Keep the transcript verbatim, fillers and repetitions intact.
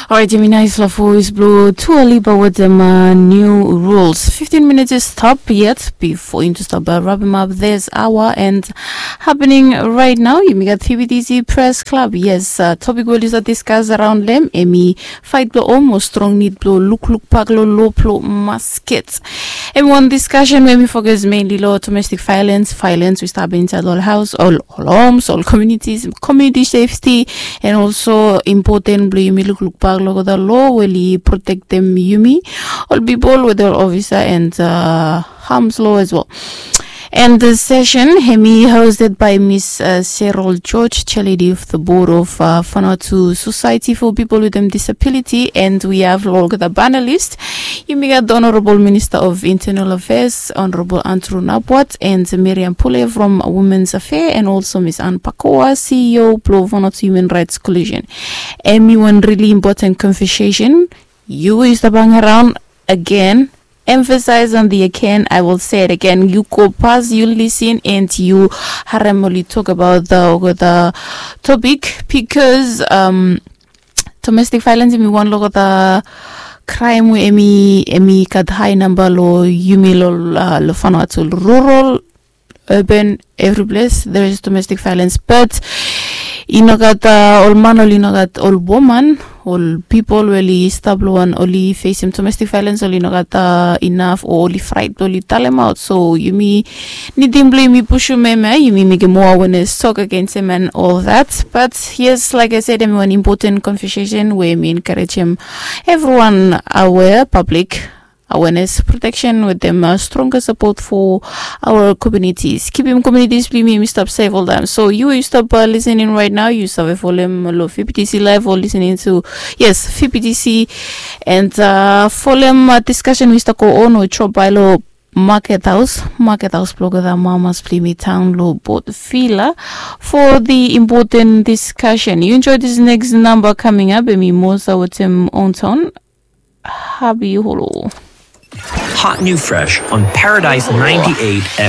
Orait, yumi nais long voes blong Dua Lipa wetem uh, new rules. Fifteen minutes is stop yet before into stop uh, wrap him up this hour and happening right now. Yumi gat T B T C Press Club. Yes, uh, topic we oli start discuss around them. Emi fight blong home o strong need blong lukluk bak long lo blong masket. Emi one discussion we emi focus mainly long domestic violence, violence we stap inside all house, all, all homes, all communities, community safety, and also important blong yumi lukluk bak long the law we oli protectem yumi, all people with all officer and uh, harms law as well. And the session hemi hosted by Miss uh, Cheryl George, chair lady of the board of uh, Vanuatu Society for People with um, Disability, and we have long the panelist. Yumi gat Honorable Minister of Internal Affairs, Honorable Andrew Nabwat, and Miriam Pule from Women's Affair, and also Miss Anne Pakoa, C E O blong Vanuatu Human Rights Coalition. Emi one really important conversation. Yu is the bang around again. Emphasize on the again. I will say it again. You go past, you listen, and you harem oli talk about the, the topic because um, domestic violence emi one long the crime we emi emi gat high number long yumi long uh, long Vanuatu rural, urban, every place there is domestic violence, but i no gat uh, ol man, ol i no gat ol woman, ol people we oli stap long wan oli facem domestic violence, ol i no gat uh, enough o oli fright, oli talem out. So yumi nidim blong yumi pushum em, eh? Yumi mekem more awareness, talk against em and all that. But yes, like I said, emi one important conversation we mi encouragem everyone aware, public awareness, protection with them uh, stronger support for our communities. Keeping communities blong yumi stop safe all time. So you you stop uh, listening right now. You stop follow them lo V P T C live or listening to yes V P T C and uh, follow them uh, discussion we start go on or chop by lo Market House, Market House blog the Mamas Plimi Town lo Board Villa for the important discussion. You enjoy this next number coming up. Emi Mosa with him on town. Happy Holo. Hot new fresh on Paradise ninety-eight